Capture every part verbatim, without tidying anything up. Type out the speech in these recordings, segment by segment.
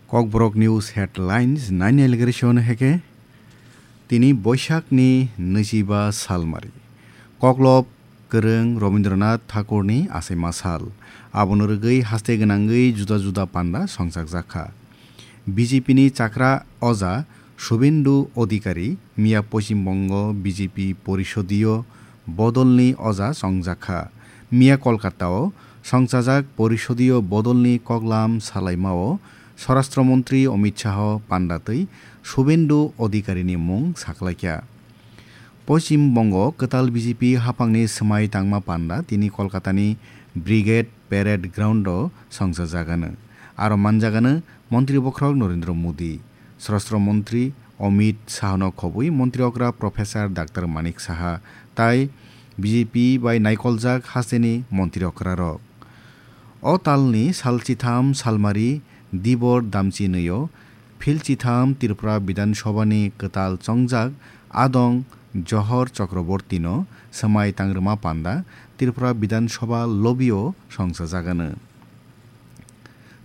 Kokborok News Headlines naini allegation heke. Tini Boishakni nwichiba salmari. Koklop kwrwng Rabindranath Thakurni achaima sal. Abono rwgwi haste gwnangwi juda juda panda songchakjakha. B J P ni chakra oja Subhendu Adhikari miya Poschim Bongo B J P porisodiyo bodolni oja songjakha. Miya Kolkatao songchajak porisodiyo bodolni koklam salaimao Swarashtra Montri Amit Shah panda twi Subhendu Adhikarini mung saklaikha. Poschim Bongo kwtal B J P haphangni swmai tangma panda tini Kolkatani Brigade Parade Ground o songchajagano. Aro manjagano Montri Bokhorok Narendra Modi, Swarashtra Montri Amit Shahno khobwi Montri okra Professor Doctor Manik Saha tai B J P bai naikoljak hasteni Montri okrarok. O talni salchitham salmari Dibor Damchi nwi-o philchitham Tripura Bidhan Sabhani kwtal chongjak Adong Johor Chakrabortino swmai tangrwma panda Tripura Bidhan Sabha lobby-o songchajagano.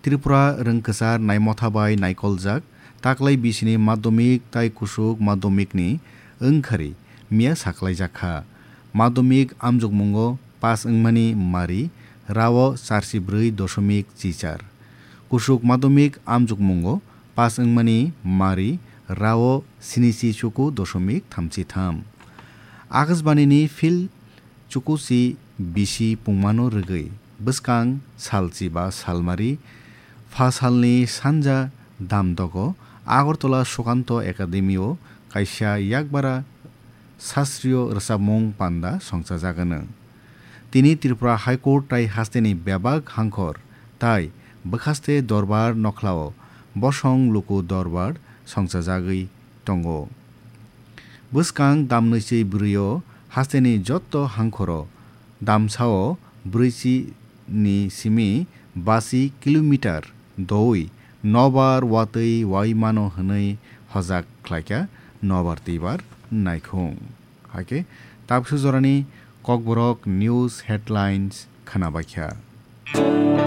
Tripura rwngkwchar naimotha bai naikoljak taklai bisini madhyamik tai kusuk madhyamikni wngkhari miya saklaijakha. Madhyamik amjokmungo pass wngmani mari rao charsi brwi doshomik chichar. Kusuk madhyamik amjokmungo pass wngmani mari rao sinichi chuku doshomik thamchi tham. Akashbanini phil chukuchi bisi pungmano rwgwi bwskang salchi ba salmari pha salni sanja damdogo Agartala Sukanto Academy-o kaisa yakbara sastriyo rwchapmung panda songchajagano. Tini Tripura High Court tai hasteni bebak hangkhor tai bwkhaste dorbar nokhlao bosong luku dorbar songchajagwi tongo. Bwskang damnwichi bwrwi-o hasteni jotto hangkhoro damsao brwichi ni simi basi kilometer doui nobar watwi waimano hwnwi hojak khlaikha nobar twibar naikhung. Hakhe tabuksa jorani Kokborok News Headlines khwnabaikha.